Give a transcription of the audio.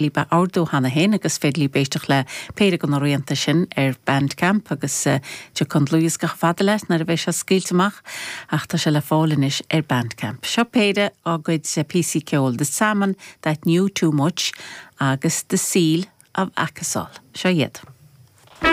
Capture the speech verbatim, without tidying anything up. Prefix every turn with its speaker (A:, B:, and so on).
A: Libh a ordú cheana féin agus féidir libh éisteacht le péire de na rianta sin ar Bandcamp agus uh, an dlúthdhiosca fada leis nuair a bheidh sé scaoilte amach ach tá sé le fáil anois ar Bandcamp. Seo péire dá gcuid píosaí ceoil The Salmon That Knew Too Much agus The Seal of Akasol. Seo iad.